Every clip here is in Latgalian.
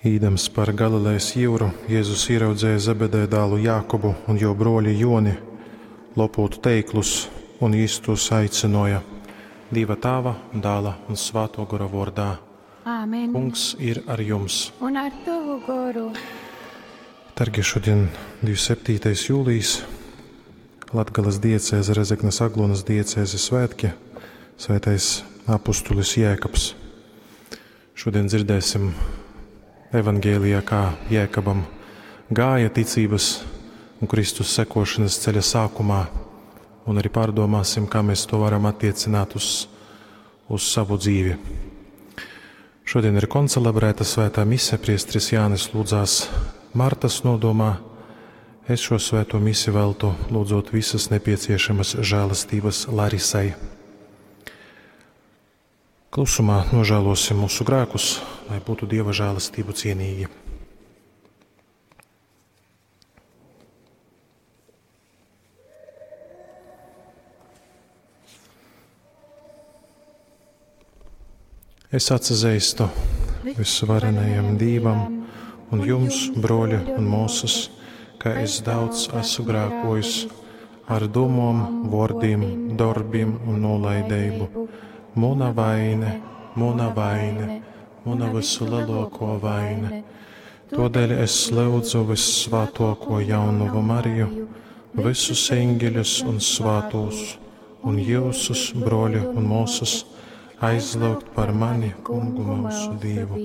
Īdams par Galilejas jyuru, Jēzus ieraudzeja Zebedeja dālu Jākobu un jo brōli Joni lopūt teiklus, un jis tūs aicynuoja. Dīva Tāva, Dāla un Svātuo Gora vuordā. Āmen. Kungs ir ar jums. Un ar tovu goru. Dargie, šodien 27. jūlijs, Latgales diecēze, Rezeknes Aglonas diecēze svētki, svētais apustulis Jēkabs. Šodien dzirdēsim evangēlijā, kā Jēkabam gāja ticības un Kristus sekošanas ceļa sākumā, un arī pārdomāsim, kā mēs to varam attiecināt uz, uz savu dzīvi. Šodien ir koncelebrēta svētā mise, priesteris Jānis lūdzās Martas nodomā. Es šo svēto misi veltu, lūdzot visas nepieciešamas žēlastības Larisai. Klusumā nožēlosim mūsu grēkus, lai būtu Dieva žēlastību cienīgi. Es atsazīstu visvarenajam Dīvam un jums, broļi un mūsas, ka es daudz esmu grēkojis ar domām, vārdiem, darbiem un nolaidību. Muna vaine, muna vaine, muna vislielāko vaine. Todēļ es lūdzu vissvētāko jaunavu Mariju, visus eņģeļus un svētos, un jūsus, broļi un mūsas, aizlūgt par mani, kungu mūsu Dievu.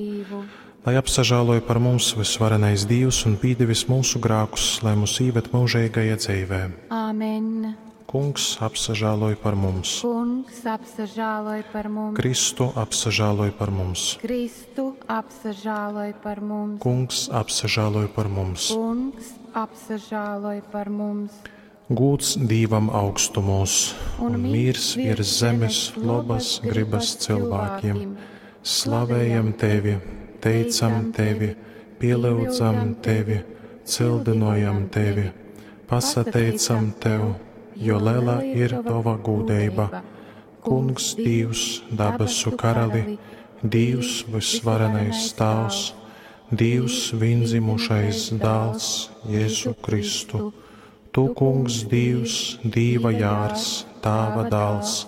Lai apsažāloja par mums visvarenais Dievs un pīdevis mūsu grākus, lai mūs īved mūžīgajā dzīvē. Āmen. Kungs apsažāloja par mums. Kungs apsažāloj par mums. Kristu apsažāloj par mums. Kristu apsažāloj par mums. Kungs apsažāloj par mums. Kungs apsažāloj par mums. Gūds Dīvam augstumos un mīrs virs zemes labas gribas cilvēkiem. Slavējam tevi, teicam tevi, pielūdzam tevi, cildinojam tevi, pasateicam tev, jo liela ir tava gūdība. Kungs Dievs, dabasu karali, Dievs visvarenais Tēvs, Dievs vienzimušais dēls Jēzu Kristu. Tu, Kungs, Dievs, Dīva jārs, Tāva dēls,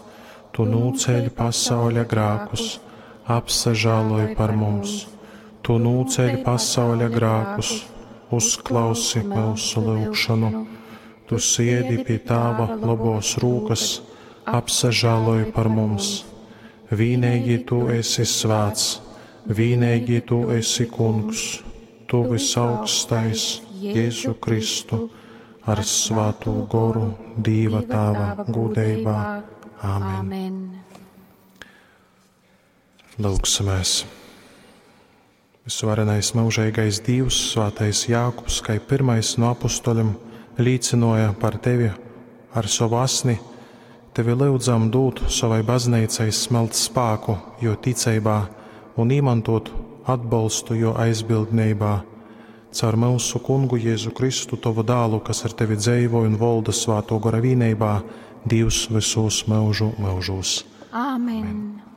Tu nūceļ pasauļa grākus, apsažāloj par mums. Tu nūceļ pasauļa grākus, uzklausi mūsu lūgšanu. Tu siedi pie Tāva labos rūkas, apsažāloj par mums. Vīnīgi Tu esi svēts, vīnīgi Tu esi Kungs, Tu visaugstais Jēzu Kristu ar Svēto goru Dīva Tāva gūdeibā. Āmen. Āmen. Lūgsimies. Visvarenais mūžīgais Dievs, Svētais Jākubs, kā pirmais no apustuļiem, līdzināja par tevi ar savu asni, tevi lūdzam dot savai baznīcai smelt spēku, jo ticībā un īmantot atbalstu, jo aizbildnībā. Caur mūsu kungu Jēzu Kristu, tavu dālu, kas ar tevi dzīvo un valda Svēto gara vīnībā, Dievs visos mūžu mūžos. Āmen.